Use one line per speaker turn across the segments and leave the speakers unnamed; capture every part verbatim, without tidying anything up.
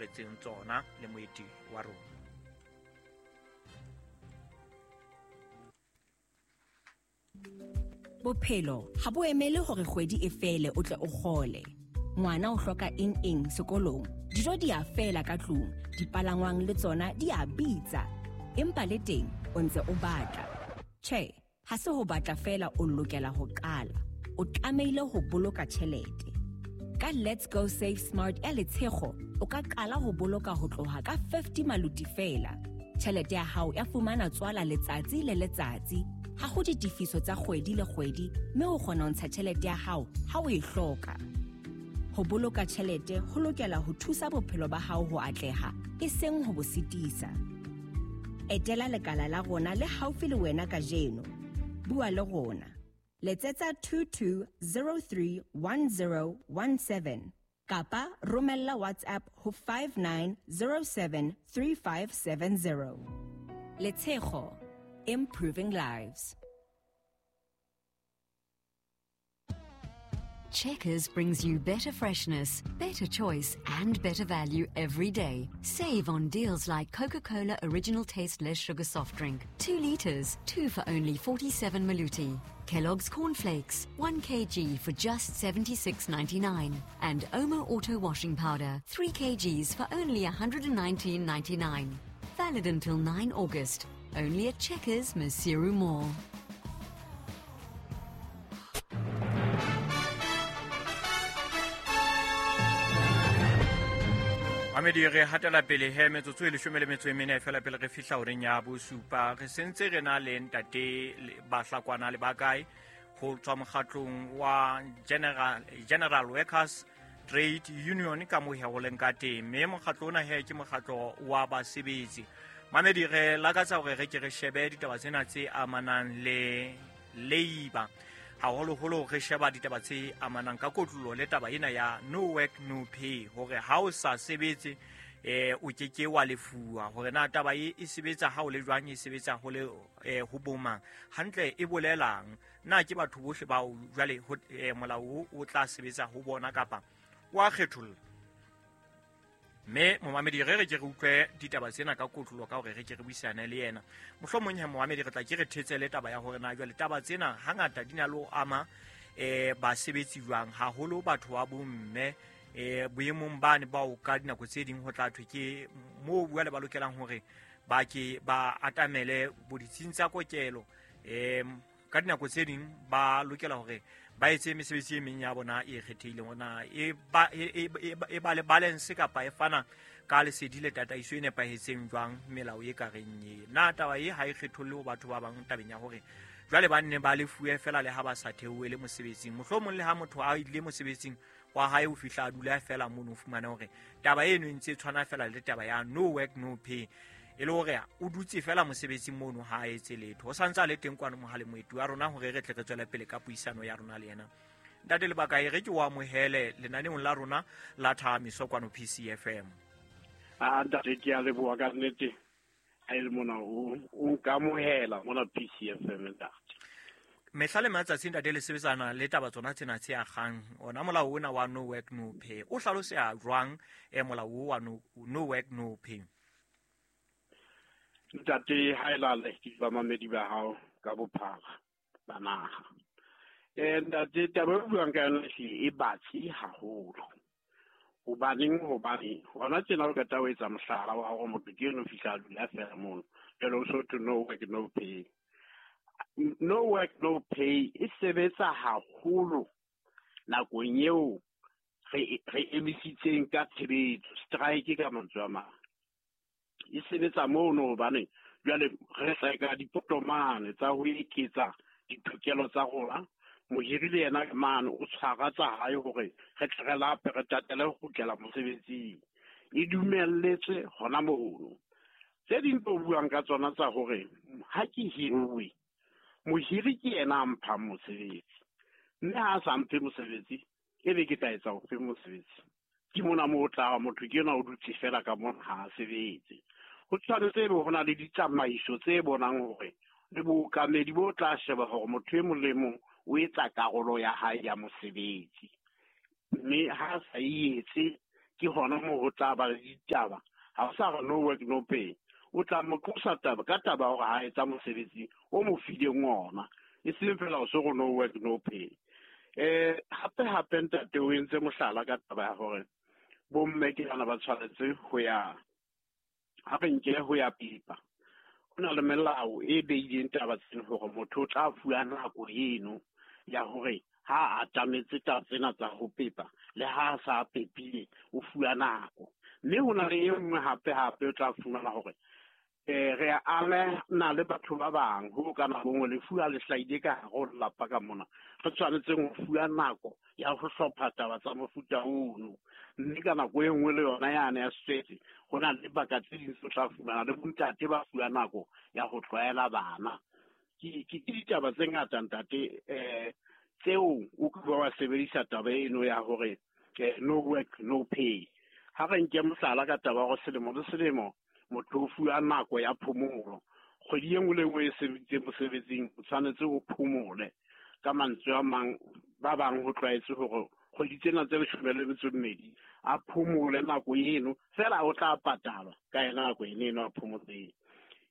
tshwaretseng tsona le moeti wa rona.
Bophelo ha bo emele hore kgwedi e fele o tle o kgole. Ngwana o hloka eng eng sekolong, dijo di a fela ka tlung, dipalangwang le tsona di a bitsa. Empa le teng o ntse o batla. Tjhe, ha se ho batla fela o lokela ho qala. O tlamehile ho boloka tjhelete. Ka Let's Go Save Smart ya Letshego, o ka qala ho boloka ho tloha ka fifty maluti fela. Tjhelete ya hao ya fumana tswala letsatsi le letsatsi. Ha ho ditefiso tsa kgwedi le kgwedi, mme o kgona ho ntsha tjhelete ya hao ha o e hloka. Ho boloka tjhelete ho lokela ho thusa bophelo ba hao ho atleha, e seng ho bo sitisa. Etela lekala la rona le haufi le wena kajeno. Bua le rona. Letsetsa two two zero three one zero one seven kapa romella WhatsApp ho five nine zero seven three five seven zero. Letshego, improving lives.
Checkers brings you better freshness, better choice and better value every day. Save on deals like Coca-Cola Original Taste Less Sugar Soft Drink, two litres, two for only forty-seven maluti. Kellogg's Cornflakes, one kilogram for just seventy-six ninety-nine. And Omo Auto Washing Powder, three kilograms for only a hundred and nineteen ninety-nine. Valid until nine August. Only at Checkers, Maseru Mall.
Mamedi re hatela pele he metsotso e leshome le metso e mene fela pele re fihla horeng ya bosupa. Re sentse re na le ntate Bahlakwana le Bakae ho tswa mokgatlong wa General, General Workers Trade Union ka moo he ho leng ka teng. Mme mokgatlo ona he ke mokgatlo wa basebetsi. Mamedi re lakatsa hore re ke re shebe ditaba tsena tse amanang le labor, haholoholo re sheba ditaba tse amanang ka kotlolo le taba ena ya no work no pay, hore ha o sa sebetse eh o ke ke wa lefuwa. Hore na taba e e sebetsa ha o le jwang, e sebetsa ho le eh, ho bomang hantle, e bolelang na ke batho bohle bao jwale molao o tla sebetsa ho bona kapa wa kgetholla. Mme momamedi re re ke re utlwe ditaba tsena ka kotlolo ka hore re ke re buisane le yena. Mohlomong he momamedi re tla ke re thetsele taba ya hore na jwale taba tsena hangata di na le ho ama eh basebetsi jwang, haholo batho ba bomme eh boemong bane bao ka dinako tse ding ho tla thwe ke moo bua le ba lokelang hore ba ke ba atamele boditsing tsa kokelo. Eh ka dinako tse ding ba lokela hore ba etse mesebetsi e meng ya bona e kgethehileng, ona e ba e ba le balance kapa e fana ka lesedi le tataiso e nepahetseng jwang melao e ka reng e. Na taba e ha e kgetholle ho batho ba bang tabeng ya hore jwale ba nne ba lefuwe fela le ha ba sa theohele mosebetsing. Mohlomong le ha motho a ile mosebetsing wa hae o fihla a dula fela mono, o fumane hore taba eno e ntse e tshwana fela le taba ya no work no pay, e le hore o dutse fela mosebetsing mono ha a etse letho. O santse a le teng kwano mohale moeti wa rona hore re tle re tswele pele ka puisano ya rona le yena. Ntate Lebakae, re ke o amohele lenaneong la rona la Thahamiso kwano P C F M.
Ah, ntate, ke a leboha ka nnete ha e le mona o nkamohela mona P C F M ntate.
Mehla le matsatsi ntate le sebetsana le taba tsona tsena tse akgang ona molao ona wa no work no pay. O hlaloseha jwang eh molao wa no, no work no pay?
Ntate, ha e lale ke ba mamedi ba hao ka bophara ba naha. Eh ntate, taba e buang ka yona e batsi haholo. Hobaneng? Hobane hona tjena o qeta ho etsa mohlala wa hore motho ke eno fihla a dula fela mono. Jwale o so thwe no work no pay. No work no pay e sebetsa haholo nakong eo re re emisitseng ka tshebetso, strike ka mantswe a mang. E sebetsa mono hobane jwale re tseka dipotomane tsa ho eketsa ditokelo tsa rona. Mohiri le yena mane o tshwara tsa hae hore re tle re lape, re tatele ho kgutlela mosebetsing. E dumelletswe hona mono. Tse ding tse o buang ka tsona tsa hore ha ke hiruwe, mohiri ke yena a mphang mosebetsi, mme ha a sa mphe mosebetsi ebe ke tla etsa ofe mosebetsi? Ke mona moo o tla motho ke yena o dutse fela ka mona ha a sebetse. Ho tshwanetse ebe ho na le ditsamaiso tse bonang hore le bookamedi bo tla sheba hore motho e mong le mong o etsa karolo ya hae ya mosebetsi, mme ha a sa e etse Ke hona moo ho tla ba le ditaba. Ha o sa re no work no pay, o tla mo qosa taba ka taba hore ha etsa mosebetsi o mo fileng ona, e seng fela o se go no work no pay. Eh hape hape ntate o entse mohlala ka taba ya hore bomme ke bana ba tshwanetse ho ya ha re nke ho ya pipa. Ho na le melao e beileng taba tsena hore motho o tla fuwa nako eno ya hore ha a atametse taba tsena tsa ho pepa le ha a sa pepile o fuwa nako. Mme ho na le e nngwe hape hape o tla fumana hore eh re amana le batho ba bang ho ka nako nngwe lefu ha le hlahile ka hare ho lelapa ka mona, re tshwanetseng ho fuwa nako ya ho hlopha taba tsa mofuta ono. Mme ka nako e nngwe le yona yane ya setswetse ho na le dibaka tse ding tse o tla fumana le bontate ba fuwa nako ya ho tlwaela bana. Ke ke ditaba tse ngata ntate eh tseo o ka ba wa sebedisa taba eno ya hore no work no pay. Ha re nke mohlala ka taba ya hore selemo le selemo motho o fuwa nako ya phomolo, kgwedi e nngwe le nngwe e sebeditseng mosebetsing o tshwanetse o phomole. Ka mantswe a mang ba bang ho tlwaetse hore kgwedi tsena tse leshome le metso e mmedi a phomole nako eno fela, o tla patalwa ka yena nako eno eno a phomotseng.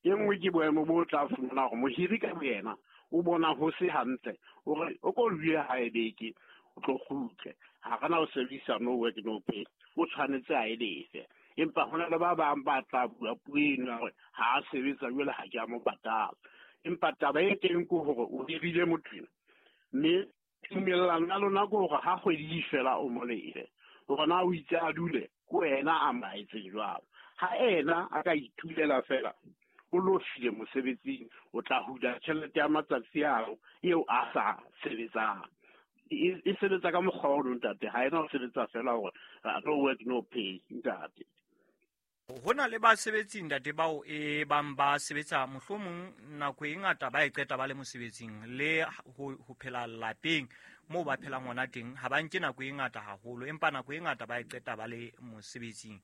E nngwe ke boemo bo tla fumana hore mohiri ka boyena o bona ho se hantle, hore o ko dule hae beke o tlo kgutle, ha re na ho sebedisa no work no pay, o tshwanetse a e lefe. Empa ho na le ba bang ba tla bua puo eno ya hore ha a sebetsa jwale ha ke a mo patala. Empa taba e teng ke hore o hirile motho ena, mme tumellano ya lona ke hore ha kgwedi e fela o mo lefe, hore na o itse a dule ke wena a mo laetseng jwalo. Ha ena a ka itulela fela o lo file mosebetsing, o tla hula tjhelete ya matsatsi ao eo a sa sebetsang. E e sebetsa ka mokgwa ono ntate, ha ena ho sebetsa fela hore no work no pay ntate.
Ho na le basebetsi ntate bao e bang ba sebetsa mohlomong nako e ngata ba e qeta ba le mosebetsing le ho, ho phela lapeng moo ba phelang hona teng, ha ba nke nako e ngata haholo, empa nako e ngata ba e qeta ba le mosebetsing.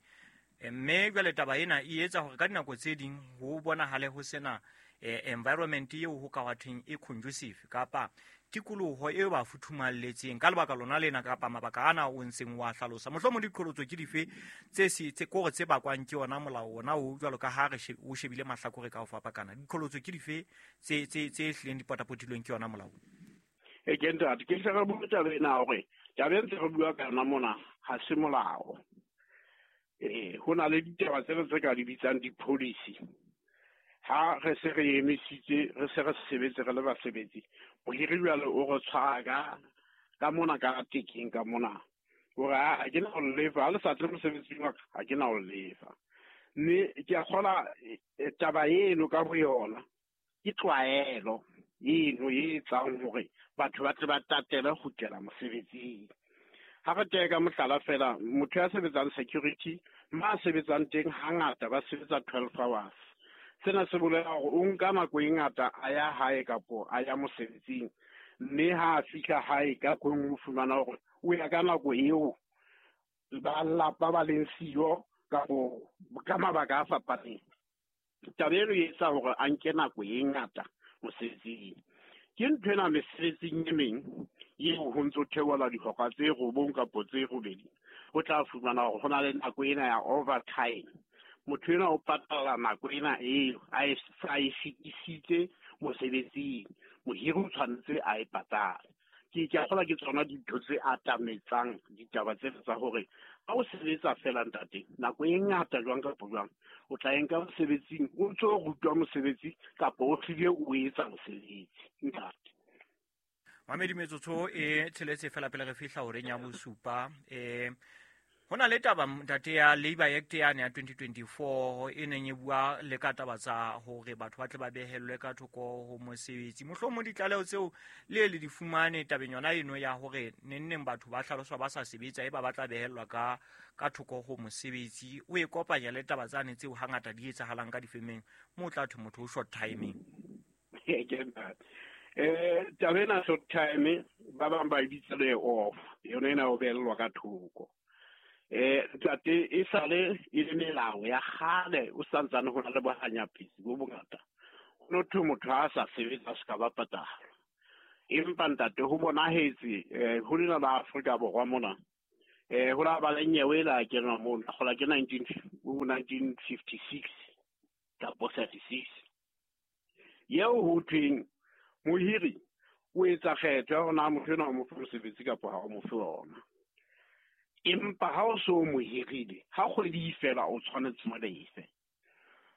Mme jwale taba ena e etsa hore ka dinako tse ding ho bonahale ho sena eh, environment eo ho ka thweng e conducive kapa tikoloho eo ba futhumalletseng ka lebaka lona lena kapa mabaka ana o ntseng wa hlalosa. Mohlomong diqholotso ke dife tse se tse kore tse bakwang ke yona molao ona o jwalo ka ha re o shebile mahlakore ka ho fapakana, diqholotso ke dife tse tse tse hlileng di potapotilweng ke yona molao?
E ke ntate ke hle re bua taba ena hore taba e ntse re bua ka yona mona ha se molao. Eh ho na le ditaba tse re tse ka di bitsang di-policy. Ha re se re emisitse re se re sebetse re le basebetsi, mohiri jwale o re tshwara ka ka mona ka tekeng ka mona hore ha ke na ho lefa, ha le sa tle mosebetsing wa ka ha ke na ho lefa. Mme ke a kgola taba eno ka boyona ke tlwaelo eno e etsang hore batho ba tle ba tatele ho kgutlela mosebetsing. Ha re teka mohlala fela, motho ya sebetsang security, ma sebetsang teng hangata ba sebetsa twelve hours. Sena se bolela hore o nka nako e ngata a ya hae kapo a ya mosebetsing, mme ha a fihla hae ka kong o fumana hore o ya ka nako eo ba lelapa ba leng siyo kapo ka mabaka a fapaneng. Taba eno e etsa hore a nke nako e ngata mosebetsing. Ke ntho ena mesebetsing e meng eo ho ntso theola dihora tse robong kapo tse robedi, o tla fumana hore ho na le nako ena ya overtime. Motho ena o patala nako ena eo a e sa e fetisitse mosebetsing, mohiri o tshwanetse a e patale. Ke ke a kgolwa ke tsona dintho tse atametsang ditaba tse tsa hore ha o sebetsa fela ntate nako e ngata jwang kapa jwang o tla e nka mosebetsing o ntso rutwa mosebetsi kapa o hlile o etsa mosebetsi ntate.
Mamedi metsotso e tsheletse fela pele re fihla horeng ya bosupa. Eh ho na le taba ntate ya Labour Act yane ya twenty twenty-four e neng e bua le ka taba tsa hore batho ba tle ba behellwe ka thoko ho mosebetsi. Mohlomong ditlaleho tseo le le di fumane tabeng yona eno ya hore neng neng batho ba hlaloswa ba sa sebetsa e ba ba tla behellwa ka ka thoko ho mosebetsi. O e kopanya le taba tsane tseo hangata di etsahalang ka difemeng moo tla thwe motho o short timing.
Eh taba ena short time ba bang ba e bitsa le off, yona ena o behellwa ka thoko. Eh ntate e sale e le melao ya kgale o santsane ho na le bohanyapetsi bo bongata. Ho no thwe motho ha a sa sebetsa se ka ba patala. Empa ntate ho bonahetse eh ho lena la Afrika Borwa mona Eh ho la ba le nyewe la kenwa mono kgola ke nineteen fifty-six kapa thirty-six. Eo ho thweng mohiri o etsa kgetho ya hore na motho enwa o mo fe mosebetsi kapa ha o mo fe ona. Empa ha o so mo hirile, ha kgwedi e fela o tshwanetse mo lefe.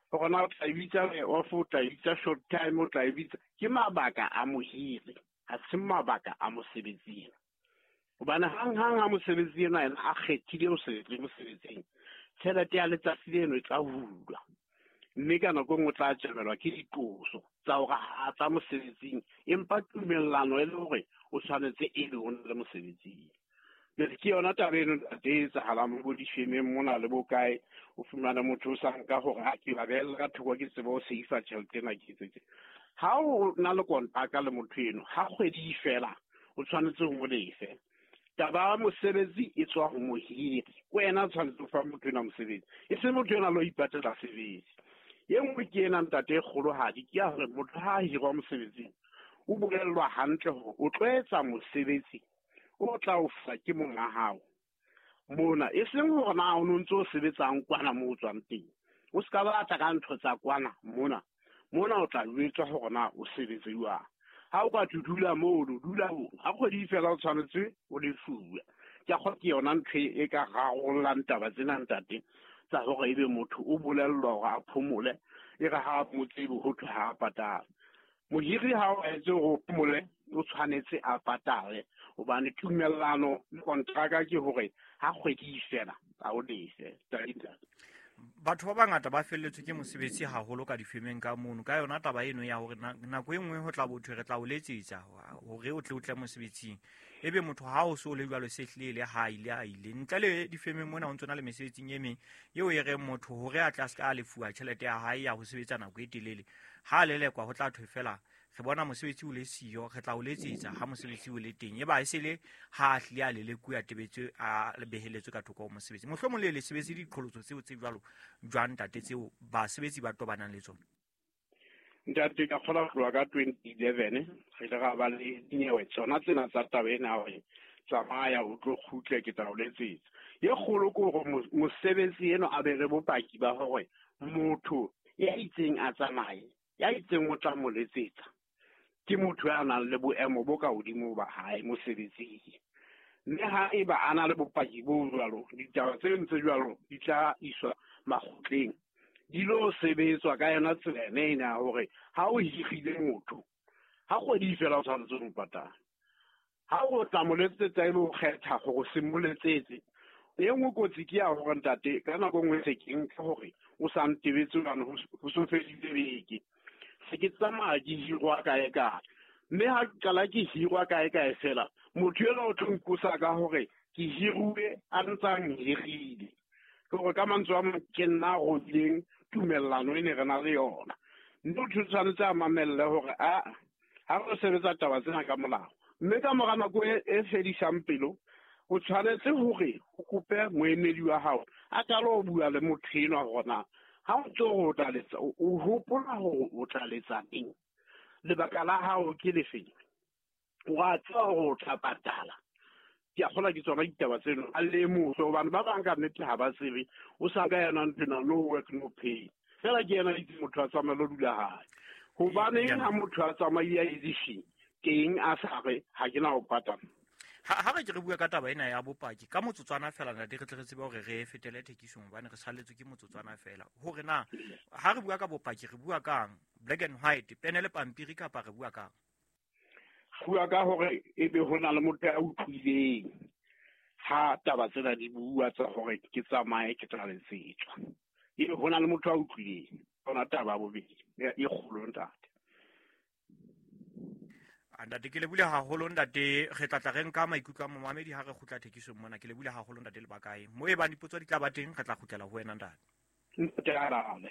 Hore na o tla e bitsa off, o tla e bitsa short time, o tla e bitsa, ke mabaka a mohiri, ha se mabaka a mosebetsi. Hobane hang-hang ha mosebetsi enwa yena a kgethile ho se tle mosebetsing, tjhelete ya letsatsi leno e tla hulwa. Mme ka nako e nngwe o tla tjamelwa ke diqoso tsa hore ha a tla mosebetsing, empa tumellano e le hore o tshwanetse e be o na le mosebetsing. Jwale ke yona taba eno ntate e etsahalang bo difemeng mona le bo kae, o fumane motho o sa nka hore ha ke ba behella ka thoko ke tsebe ho save-a tjhelete ena ke etse tje. Ha o na le kontraka le motho eno, ha kgwedi e fela o tshwanetse ho mo lefe. Taba ya mosebetsi e tswa ho mohiri, wena o tshwanetse ho fa motho enwa mosebetsi, e se motho enwa a lo ipatlela sebetsi. E nngwe ke ena ntate e kgolohadi, ke ya hore motho ha a hirwa mosebetsing o bolellwa hantle hore o tlo etsa mosebetsi o tla o fa ke monga hao mona, e seng hore na o no ntso o sebetsang kwana moo o tswang teng. O ska batla ka ntho tsa kwana mona, mona o tla jwetswa hore na o sebetse jwang. Ha o ka dula moo, o dula moo, ha kgwedi e fela o tshwanetse o lefuwe. Ke a kgolwa ke yona ntho e ka rarollang taba tsena ntate, tsa hore ebe motho o bolellwa hore a phomole, e re ha mo tsebe ho thwe ha a patale. Mohiri ha o etse hore o phomole, o tshwanetse a patale, hobane tumellano le kontraka ke hore ha kgwedi e fela a o lefe.
Batho ba bangata ba felletswe ke mosebetsi haholo ka difemeng ka mono, ka yona taba eno ya hore nako e nngwe ho tla bothwe re tla o letsetsa hore o tle o tle mosebetsing, ebe motho ha o so le jwalo se hlile le ha ile a ile ntle le difemeng mona ho ntsona le mesebetsing e meng eo e reng motho hore a tla ska a lefuwa tjhelete ya hae ya ho sebetsa nako e telele, ha a lelekwa ho tla thwe fela re bona mosebetsi o le siyo, re tla o letsetsa ha mosebetsi o le teng, eba e se le ha a hlile a lelekuwa tebetswe a beheletswe ka thoko ho mosebetsi. Mohlomong le le sebetse diqholotso tseo tse jwalo jwang ntate, tseo basebetsi ba tobanang le tsona?
Ntate, ka kgola ho tloha ka twenty eleven re ile ra ba le dinyewe tsona tsena tsa taba ena hore tsamaya o tlo kgutle ke tla o letsetsa. E kgolo ke hore mosebetsi eno a be le bopaki ba hore motho ya itseng a tsamaye, ya itseng o tla mo letsetsa, ke motho ya nang le boemo bo ka hodimo ba hae mosebetsing. Mme ha eba a na le bopaki bo jwalo, ditaba tse ntse jwalo di tla iswa makgotleng, di lo sebetswa ka yona tsela ena ya hore ha o hirile motho, ha kgwedi e fela o tshwanetse ho mo patala. Ha o tla mo letsetsa e le ho kgetha hore se mo letsetse. E nngwe kotsi ke ya hore ntate, ka nako e nngwe se ke nka hore o sa ntebetse hobane ho so fedile beke, se ke tsamaya ke hirwa kae kae, mme ha ke qala ke hirwa kae kae fela, motho enwa o tlo nkosa ka hore ke hiruwe a ntsa nhirile. Ke hore ka mantswe a mang ke nna a robileng tumellano e ne re na le yona. Mme motho o tshwanetse a mamelle hore a ha re sebetsa taba tsena ka molao, mme ka mora nako e fedisang pelo, o tshwanetse hore o kope moemedi wa hao a qale ho bua le motho enwa hore na ha o ntso o tla letsa, o hopola hore o tla letsa neng, lebaka la hao ke lefeng, wa tseba hore o tla patala. Ke a kgolwa ke tsona ditaba tseno, a lemose hobane ba bang ka nnete ha ba tsebe, o sa ka yona ntho ena, no work no pay. Fela ke yena itse motho a tsamaye lo dula hae. Hobaneng ha motho a tsamaile a edishing teng a sa re ha ke na ho patala?
Ha ha re ke re bua ka taba ena ya bopaki ka motsotswana fela ntate, re tle re tsebe hore re fetele thekisong hobane re salletswe ke motsotswana fela. Hore na ha re bua ka bopaki re bua kang, black and white, pene le pampiri, kapa re bua kang?
Bua ka hore ebe ho na le motho ya utlwileng ha taba tsena di bua tsa hore ke tsamaye ke tla letsetswa, ebe ho na le motho a utlwileng. Yona taba ya bobedi e kgolo ntate.
Ntate, ke lebule haholo ntate, re tla tla re nka maikutlo a momamedi ha re kgutla thekisong mona. Ke lebule haholo ntate Lebakae. Mo e bang dipotso di tla ba teng, re tla kgutlela ho wena ntate.
Ntate Arale.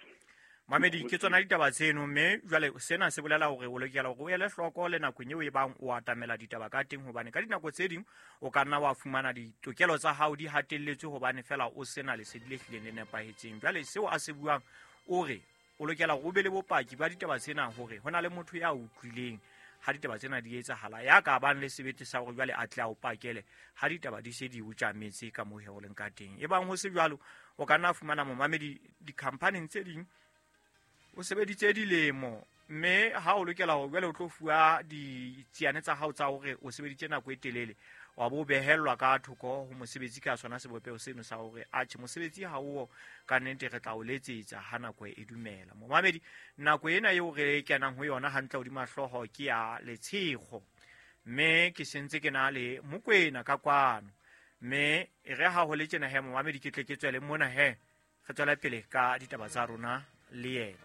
Mamedi, ke tsona ditaba tseno, mme jwale sena se bolela hore o lokela hore o ele hloko le nakong eo e bang o atamela ditaba ka teng, hobane ka dinako tse ding o ka nna wa fumana ditokelo tsa hao di hatelletswe hobane fela o sena lesedi le hlileng le nepahetseng. Jwale seo a se buang o re o lokela hore o be le bopaki ba ditaba tsena hore ho na le motho ya utlwileng ha ditaba tsena di etsahala ya ka bang le sebete sa hore jwale a tle a o pakele ha ditaba di se di o tjametse ka moo ho leng ka teng. E bang ho se jwalo o ka nna fumana momamedi di-company tse ding o sebeditse dilemo mme ha o lokela hore jwale o tlo fuwa ditsiane tsa hao tsa hore o sebeditse nako e telele wa bo behellwa ka thoko ho mosebetsi ka sona sebopeho seno sa hore atjhe mosebetsi ha o ka nnete re tla o letsetsa ha nako e dumela. Momamedi nako ena eo re kenang ho yona hantle hodima hlooho ke ya Letshego mme ke sentse ke na le Mokwena ka kwano mme e re ha ho le tjena he momamedi ke tle ke tswele mona he re tswela pele ka ditaba tsa rona le yena.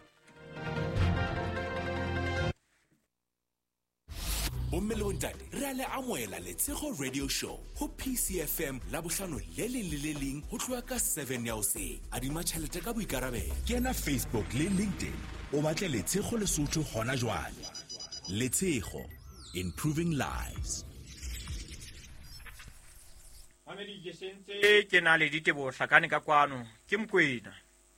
Bomme le bontate re a le amohela Letshego Radio Show ho P C F M la bohlano le leng le le leng ho tloha ka seven ya hoseng. Adima tjhelete ka boikarabelo. Kena Facebook le LinkedIn o batle Letshego Lesotho hona jwale. Letshego, improving lives.
Mamedi ke sentse ke na le diteboho hlakane ka kwano ke Mokwena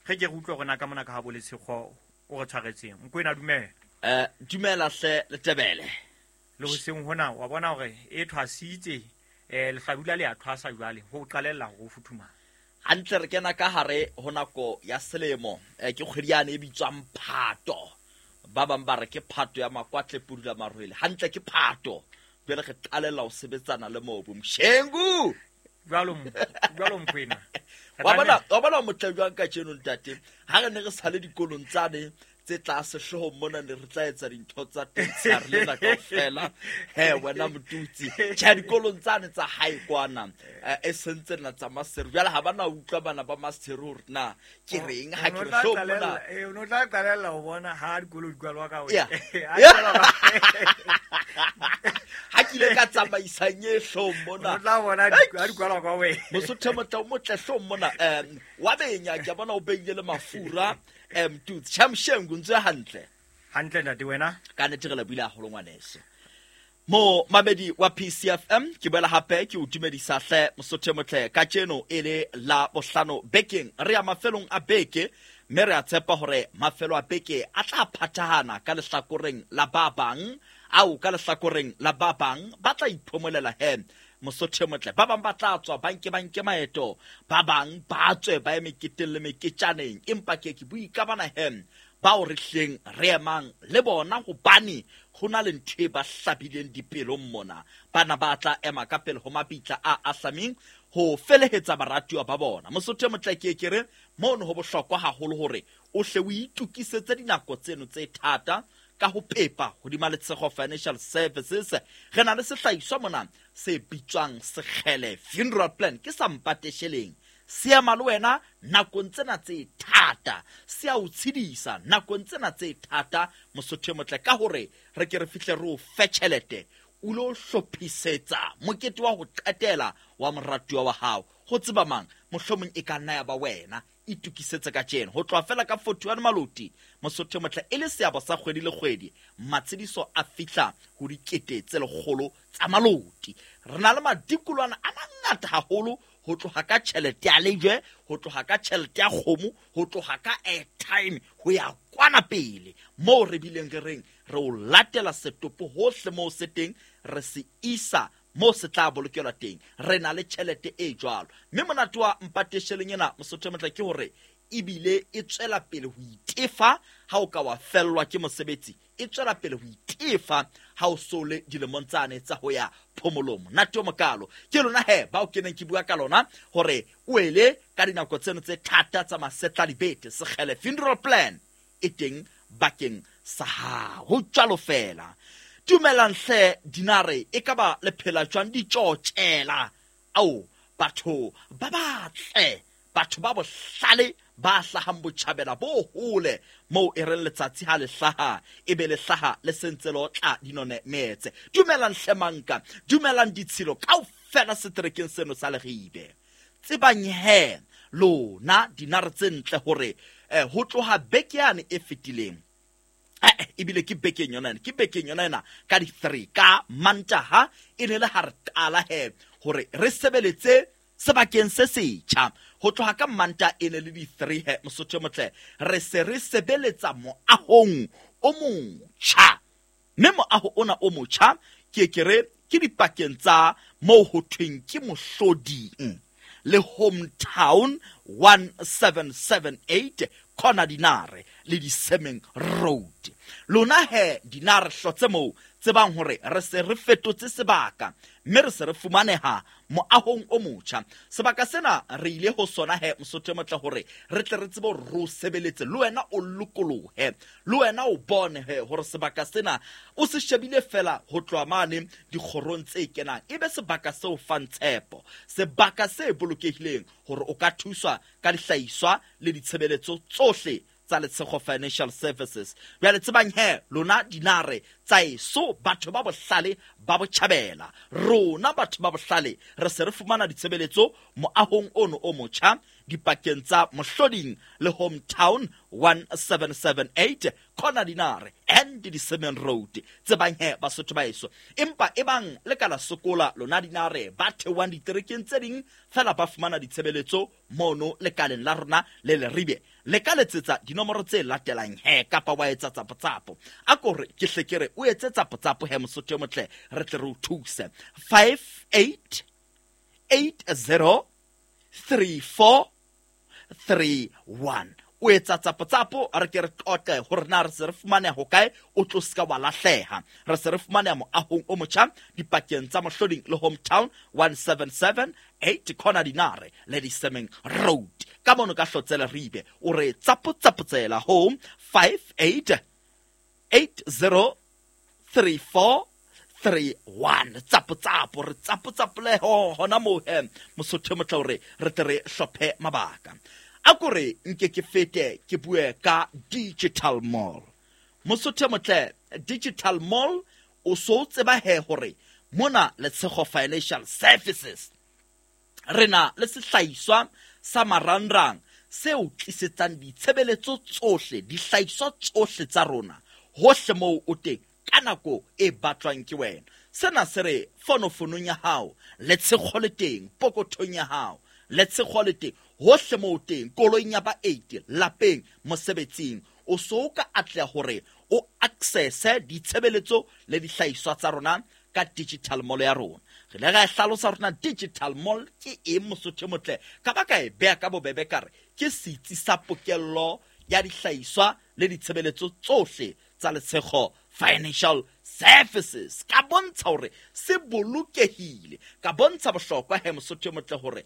ge ke re utlwe rona ka mona ka ha bo Letshego o re tshwaretseng. Mokwena dumela.
Eh dumela hle Letebele.
Le hoseng hona wa bona hore e thwasitse eh lehlabula le a thwasa jwale ho qalella ho futhumala
hantle. Re kena ka hare ho nako ya selemo ke kgwedi yane e bitswang Phato. Ba bang ba re ke Phato ya makwatle pudula marwele. Hantle ke Phato. Jwale re qalella ho sebetsana le mobu Mshengu
jwalo jwalo Mokwena.
Wa bona wa bona motle jwang ka tjeno ntate ha re ne re sale dikolong tsane tse tlase hloohong mona ne re tla etsa dintho tsa teng tsa re lena kaofela. He wena motutsi tjhe dikolong tsane tsa hae kwana e sentse nna tsa maseru jwale ha bana utlwa bana ba maseru hore na ke reng ha ke re hloohong mona
eh o no tla qalella ho bona ha dikolo di kwalwa ka wena.
Ha ke ile ka tsamaisang e hloohong mona
o tla bona ha di kwalwa ka wena.
Mosotho motla o motle hloohong mona um wa benya ke bona o beile le mafura em tutsi Shamshengu ntse hantle
hantle ntate wena
ka nete re lebile haholo ngwaneso. Mo mamedi wa P C F M ke boela hape ke o dumedisa hle Mosotho motle ka tjeno e le la bohlano bekeng re ya mafelong a beke mme re a tshepa hore mafelo a beke a tla phathahana ka lehlakoreng la ba bang ao ka lehlakoreng la ba bang ba tla iphomolela he Mosotho motle. Ba bang ba tla tswa banke banke maeto ba bang ba tswe ba ye meketeng le meketjaneng empa ke ke bui ka bana he bao re hleng re emang le bona hobane ho na le ntho e ba hlabileng dipelong mona. Bana ba tla ema ka pele ho mabitla a ahlameng ho felehetsa baratuwa ba bona. Mosotho motle ke ke re mono ho bohlokwa haholo hore o hle o itokisetse dinako tseno tse thata ka ho pepa hodima Letshego Financial Services. Re na le sehlahiswa mona se bitswang Sekgele Funeral Plan ke sa mpatesheleng se ema le wena nakong tsena tse thata se a o tshedisa nakong tsena tse thata Mosotho motle ka hore re ke re fihle re o fe tjhelete o lo hlophisetsa mokete wa ho qetela wa moratuwa wa hao. Ho tseba mang mohlomong e ka nna ya ba wena. Itokisetse ka tjeno ho tloha fela ka forty-one maloti Mosotho motle e le seabo sa kgwedi le kgwedi matshediso a fihla ho dikete tse lekgolo tsa maloti. Re na le madikolwana a mangata haholo ho tloha ka tjhelete ya lejwe ho tloha ka tjhelete ya kgomo ho tloha ka airtime ho ya kwana pele moo re bileng re reng re o latela setopo hohle moo se teng re se isa mo se tla bolokelwa teng. Re na le tjhelete e jwalo mme monate wa mpatesheleng ena Mosotho motle ke hore ebile e tswela pele ho itefa ha o ka wa fellwa ke mosebetsi e tswela pele ho itefa ha o sole dilemong tsane tsa ho ya phomolong. Monate o mokalo ke lona he bao ke neng ke bua ka lona hore o ele ka dinako tseno tse thata tsa masetla dibete Sekgele Funeral Plan e teng bakeng sa hao. Ho jwalo fela. Dumelang hle dinare e ka ba le phela jwang ditjotjela ao batho ba batle batho ba bohlale ba hlahang botjhabela bo hole moo e reng letsatsi ha le hlaha e be le hlaha le sentse le otla dinone metse. Dumelang hle manka dumelang ditshilo kaofela seterekeng seno sa Leribe. Tsebang he lona dinare tse ntle hore eh, ho tloha beke yane e fetileng ebile ke bekeng yona ke bekeng yona ena ka di three ka Mantaha e ne le ha re qala he hore re sebeletse sebakeng se setjha. Ho tloha ka Manta e ne le di three he Mosotho motle re se re sebeletsa moahong o motjha Mme moaho ona o motjha ke ke re ke dipakeng tsa moo ho thweng ke Mohloding le Hometown one seven seven eight corner Dinare le Disemeng Road. Lona he Dinare hlotse moo tsebang hore re se re fetotse sebaka mme re se re fumaneha moahong o motjha. Sebaka sena re ile ho sona he Mosotho motle hore re tle re tsebe hore re o sebeletse le wena o lokolohe, le wena o bone he hore sebaka sena o se shebile fela ho tloha mane dikgorong tse kenang, ebe sebaka seo fang tshepo, sebaka se bolokehileng hore o ka thuswa ka dihlahiswa le ditshebeletso tsohle tsa Letshego Financial Services. Jwale tsebang he lona Dinare tsa eso batho ba bohlale ba botjhabela, rona batho ba bohlale re se re fumana ditshebeletso moahong ono o motjha dipakeng tsa Mohloding le Hometown one seven seven eight corner Dinare and Disemeng Road. Tsebang he Basotho ba eso, empa ebang le ka la sokola lona Dinare ba theohang diterekeng tse ding fela ba fumana ditshebeletso mono lekaleng la rona le Leribe, le ka letsetsa dinomoro tse latelang he kapa wa etsa tsapotsapo. A kore ke hle ke re o etse tsapotsapo he Mosotho motle re tle re o thuse. Five eight eight zero three four three one. O etsa tsapotsapo re ke re qoqe hore na re se re fumaneha hokae, o tlo ska wa lahleha. Re se re fumaneha moahong o motjha dipakeng tsa Mohloding le Hometown one seven seven eight corner Dinare le Disemeng Road. Ka mono ka hlotse Leribe o re tsapotsapotsela home five eight eight zero three four three one. Tsapotsapo re tsapotsapole hona moo he Mosotho motle hore re tle re hlophe mabaka. A kore nke ke fete ke bue ka Digital Mall. Mosotho motle, Digital Mall o so tseba he hore mona Letshego Financial Services re na le sehlahiswa sa marangrang seo tlisetsang ditshebeletso tsohle, dihlahiswa tsohle tsa rona hohle moo o teng ka nako e batlwang ke wena. Sena se re fonofonong ya hao, Letshego le teng, pokothong ya hao, Letshego le teng hohle moo teng, koloing ya ba eight, lapeng, mosebetsing. O so ka atleha hore o accesse ditshebeletso le dihlahiswa tsa rona ka Digital Mall ya rona. Re le ra hlalosa rona Digital Mall ke eng Mosotho motle, ka ba ka e beha ka bobebe ka re ke setsi sa pokello ya dihlahiswa le ditshebeletso tsohle tsa Letshego Financial Services. Ka bontsha hore se bolokehile, ka bontsha bohlokwa he Mosotho motle hore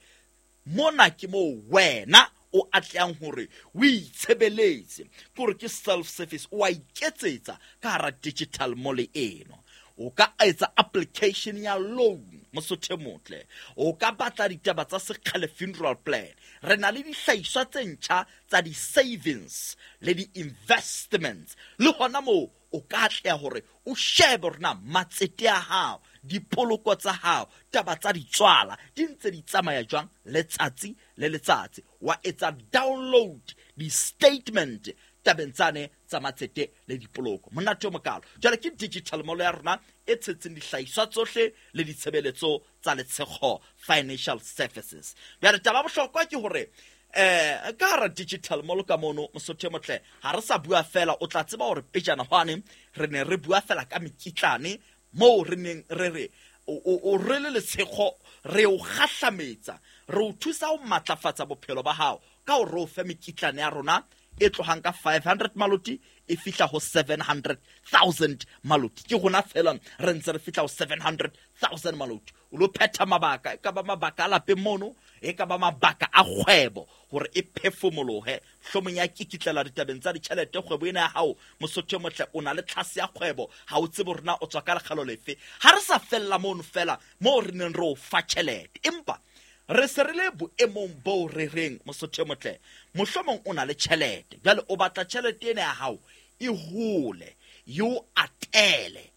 mona ke moo wena o atlehang hore o itshebeletse, ke hore ke self service, o a iketsetsa ka hara Digital Mall eno. O ka etsa application ya loan Mosotho motle, o ka batla ditaba tsa sekgale funeral plan. Re na le dihlahiswa tse ntjha tsa di-savings le di-investments, le hona moo o ka atleha hore o shebe hore na matsete a hao, dipoloko tsa hao, taba tsa ditswala di ntse di tsamaya jwang letsatsi le letsatsi. Wa etsa download di-statement tabeng tsane tsa matsete le dipoloko. Monate o mokalo. Jwale ke Digital Mall ya rona e tshetseng dihlahiswa tsohle le ditshebeletso tsa Letshego Financial Services. Jwale taba bohlokwa ke hore eh ka hara Digital Mall ka mono Mosotho motle ha re sa bua fela, o tla tseba hore pejana hwane re ne re bua fela ka mekitlane moo re neng re re o re le Letshego re o kgahlametsa, re o thusa ho matlafatsa bophelo ba hao ka hore o fe mekitlane ya rona e tlohang ka five hundred maloti e fihla ho seven hundred thousand maloti. Ke rona fela re ntse re fihla ho seven hundred thousand maloti. O lo phetha mabaka, e ka ba mabaka a lapeng mono, e ka ba mabaka a kgwebo hore e phefumolohe. Hlomong ya kikitlela ditabeng tsa ditjhelete kgwebo ena ya hao Mosotho motle, o na le tlhase ya kgwebo, ha o tsebe hore na o tswa ka lekgalo lefe. Ha re sa fella mono fela moo re neng re o fa tjhelete, empa re se re le boemong bo re reng Mosotho motle, mohlomong o na le tjhelete jwale o batla tjhelete ena ya hao e hole, e o atele.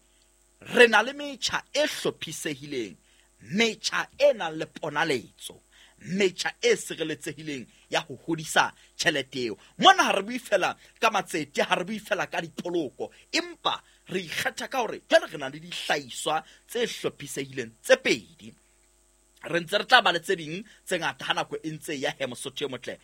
Re na le metjha e hlophisehileng, metjha e nang le ponaletso, metjha e sireletsehileng ya ho hodisa tjhelete eo. Mona ha re bue fela ka matsete, ha re bue fela ka dipoloko, empa re ikgetha ka hore jwale re na le dihlahiswa tse hlophisehileng tse pedi. Re ntse re tla ba le tse ding tse ngata ha nako e ntse ya he Mosotho motle.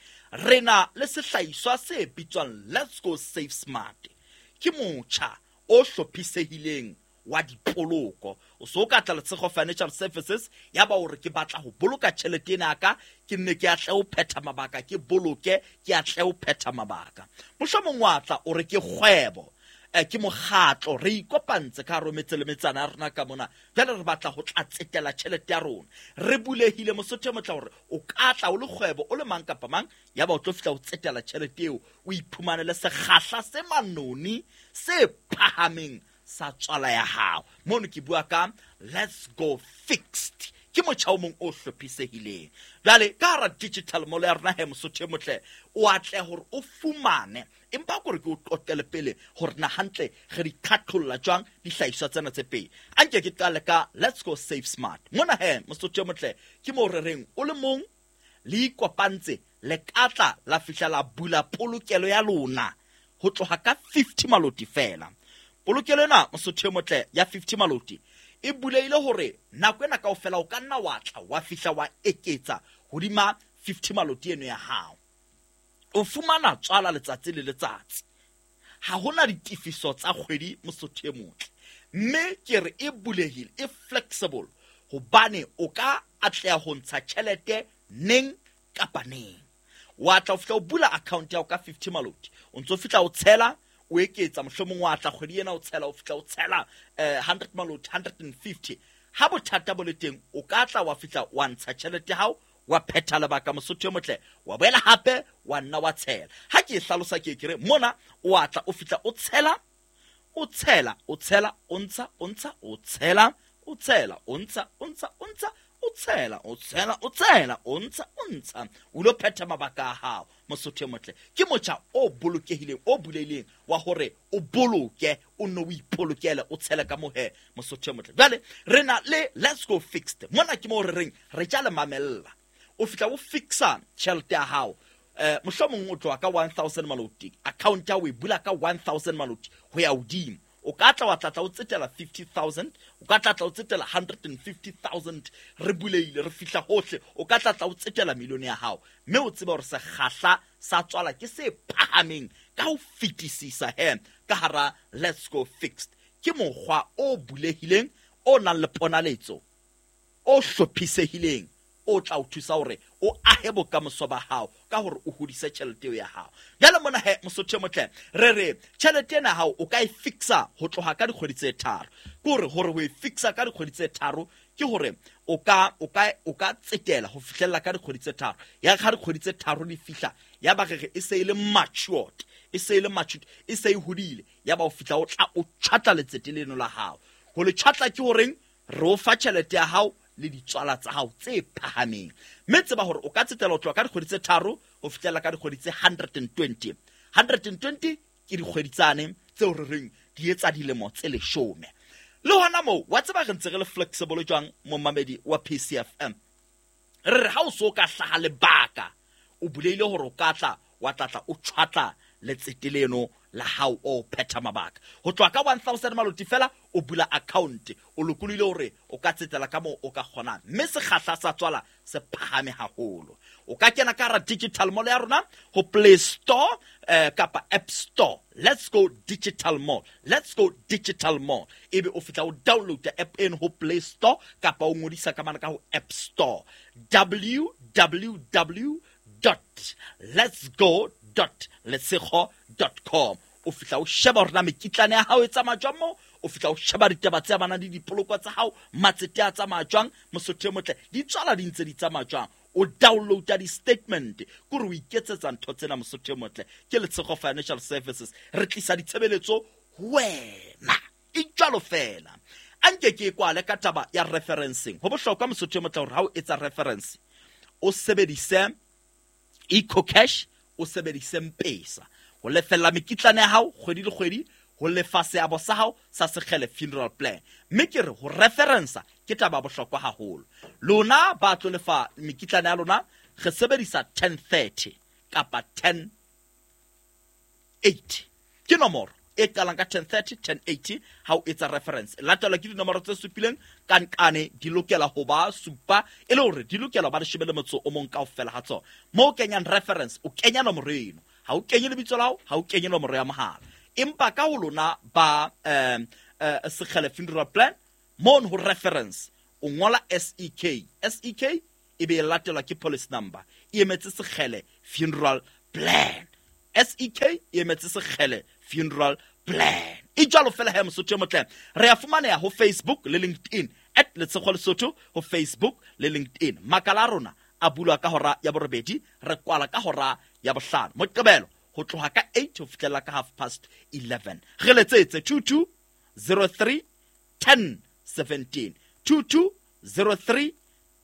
Re na le sehlahiswa se bitswang Let's Go Save Smart. Ke motjha o hlophisehileng wa dipoloko. O so ka tla Letshego Financial Services ya ba hore ke batla ho boloka tjhelete ena ya ka, ke nne ke atle ho phetha mabaka, ke boloke, ke atle ho phetha mabaka. Mohlomong wa tla o re ke kgwebo, eh, ke mokgatlo, re ikopantse ka hare ho metse le metsana ya rona ka mona, jwale re batla ho tla tsetela tjhelete ya rona. Re bulehile Mosotho e motle hore o ka tla o le kgwebo, o le mang kapa mang, ya ba o tlo fihla o tsetela tjhelete eo, o iphumanele sekgahla se manoni se phahameng sa tswala ya hao. Mono ke bua ka Let's Go Fixed, ke motjha o mong o hlophisehileng. Jwale ka hara digital mall ya rona he Mosotho e motle, o atle hore o fumane, empa kore ke o qoqele pele hore na hantle re di qhaqholla jwang dihlahiswa tsena tse pedi. A nke ke qale ka Let's Go Save Smart. Mona he Mosotho e motle, ke moo re reng o le mong le ikopantse, le ka tla la fihla la bula polokelo ya lona ho tloha ka fifty maloti fela. Polokelo ena Mosotho e motle ya fifty maloti e buleile hore nako ena kaofela o ka nna wa tla wa fihla wa eketsa hodima fifty maloti eno ya hao. O fumana tswala letsatsi le letsatsi. Ha hona ditefiso tsa kgwedi Mosotho e motle. Mme ke re e bulehile, e flexible hobane o ka atleha ho ntsha tjhelete neng kapa neng. Wa tla o fihla o bula account ya hao ka fifty maloti. O ntso fihla o tshela, o eketsa, mohlomong wa tla kgwedi ena o tshela, o fihla o tshela, eh, hundred maloti, hundred and fifty. Ha bothata bo le teng, o ka tla wa fihla wa ntsha tjhelete ya hao, wa phetha lebaka Mosotho e motle, wa boela hape wa nna wa tshela. Ha ke e hlalosa ke ke re mona o a tla o fihla o tshela, o tshela, o tshela, o ntsha, o ntsha, o tshela, o tshela, o ntsha, o ntsha, o ntsha, o tshela, o tshela, o tshela, o ntsha, o ntsha, o lo phetha mabaka a hao Mosotho e motle. Ke motjha o bolokehileng, o bulehileng wa hore o boloke, o nno o ipolokele, o tshele ka mohe Mosotho e motle. Jwale re na le Let's Go Fixed. Mona ke moo re reng re tja le mamella. O fihla o fixa tjhelete ya hao. Eh, mohlomong o tloha ka one thousand maloti, account ya o e bula ka one thousand maloti ho ya hodimo. O ka tla wa tla tla o tsetela fifty thousand, o ka tla tla o tsetela hundred and fifty thousand, re buleile, re fihla hohle, o ka tla tla o tsetela milione ya hao. Mme o tsebe hore sekgahla sa tswala ke se phahameng ka ho fetisisa he ka hara Let's Go Fixed. Ke mokgwa o bulehileng, o nang le ponaletso, o hlophisehileng, o tla o thusa hore o ahe bokamoso ba hao ka hore o hodise tjhelete eo ya hao. Jwale mona he Mosotho e motle, re re tjhelete ena hao o ka e fixa ho tloha ka dikgwedi tse tharo. Ke hore hore ho e fixa ka dikgwedi tse tharo ke hore o ka, o ka, o ka tsetela ho fihlella ka dikgwedi tse tharo. Ya ka dikgwedi tse tharo di fihla, ya ba re re e se e le matured, e se e le matured, e se e hodile, ya ba o fihla o tla o tjhatla letsete leno la hao. Ho le tjhatla ke horeng re o fa tjhelete ya hao le ditswala tsa hao tse phahameng. Mme tseba hore o ka tsetela ho tloha ka dikgwedi tse tharo ho fihlela ka dikgwedi tse hundred and twenty. hundred and twenty ke dikgwedi tsane tseo re reng di etsa dilemo tse leshome. Le hona moo, wa tseba re ntse re le flexible jwang momamedi wa P C F M. Re re ha o so ka hlaha lebaka, o buleile hore o ka tla wa tla tla o tjhwatla letsete leno la hao o phetha mabaka. Ho tloha ka one thousand maloti fela o bula account, o lokolohile hore o ka tsetela ka moo o ka kgonang, mme sekgahla sa tswala se phahame haholo. O ka kena ka hara digital mall ya rona ho Play Store, eh, kapa App Store. Let's Go Digital Mall, Let's Go Digital Mall. Ebe o fihla o download app eno ho Play Store kapa o ngodisa ka mane ka ho App Store. w w w dot let's go dot letshego dot com. O fihla o sheba hore na mekitlane ya hao e tsamaya jwang moo, o fihla o sheba ditaba tse amanang le dipoloko tsa hao, matsete a tsamaya jwang, Mosotho e motle, di tswala di ntse di tsamaya jwang. O downloada di-statement, ke hore o iketsetsa ntho tsena Mosotho e motle. Ke Letshego Financial Services, re tlisa ditshebeletso ho wena, e jwalo fela. A nke ke e kwale ka taba ya referencing. Ho bohlokwa Mosotho e motle hore ha o etsa reference o sebedise EcoCash, o sebedise M-Pesa ho lefella mekitlane ya hao kgwedi le kgwedi, ho lefa seabo sa hao sa Sekgele funeral plan. Mme ke re ho referensa ke taba ya bohlokwa haholo. Lona ba tlo lefa mekitlane ya lona, re sebedisa ten thirty kapa ten eighty. Ke nomoro e qalang ka ten thirty, ten eighty ha o etsa reference. Latelwa ke dinomoro tse supileng ka nkane di lokela ho ba supa, e le hore di lokela ho ba leshome le motso o mong kaofela ha tsona. Moo o kenyang reference, o kenya nomoro eno. Ha o kenye lebitso la hao, ha o kenye nomoro ya mohala. Empa ka ho lona ba um uh, Sekgele Funeral Plan mono ho reference o ngola S E K. S E K e be e latelwa ke policy number. E emetse Sekgele Funeral Plan. S E K e emetse Sekgele Funeral Plan. E jwalo fela he Mosotho e motle. Re a fumaneha ho Facebook le LinkedIn at Letshego Lesotho ho Facebook le LinkedIn. Makala a rona a bulwa ka hora ya borobedi, re kwala ka hora ya bohlano. Moqebelo ho tloha ka eight ho fihlela ka half past eleven. Re letsetse two two zero three ten seventeen. two two zero three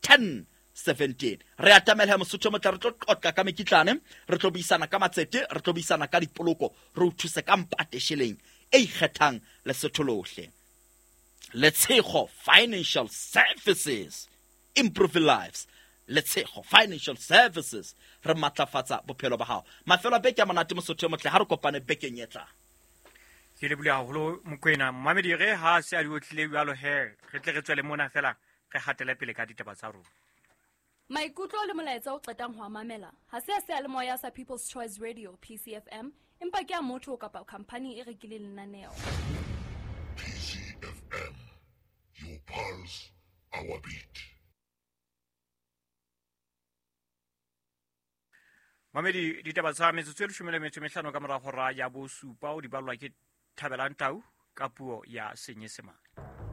ten seventeen. Re atamela Mosotho e motle, re tlo qoqa ka mekitlane, re tlo buisana ka matsete, re tlo buisana ka dipoloko, re o thuse ka mpate sheleng e ikgethang Lesotho lohle. Letshego Financial Services, improving lives. Letshego Financial Services, re matlafatsa bophelo ba hao. Mafelo a beke a monate Mosotho e motle, ha re kopane bekeng e tlang.
Ke lebohile haholo Mokoena. Mmamedi re ha se a di otlile jwalo he, re tle re tswele mona fela re hatele pele ka ditaba tsa rona.
Maikutlo le molaetsa o qetang ho a mamela ha se a seyalemoya sa People's Choice Radio P C F M, empa ke a motho kapa khampani e rekileng lenaneo.
P C F M, your pulse, our beat.
Mamedi, ditaba tsa metsotso e leshome le metso e mehlano ka mora hora ya bosupa o di ballwa ke Thabelang Tau ka puo ya Senyesemane.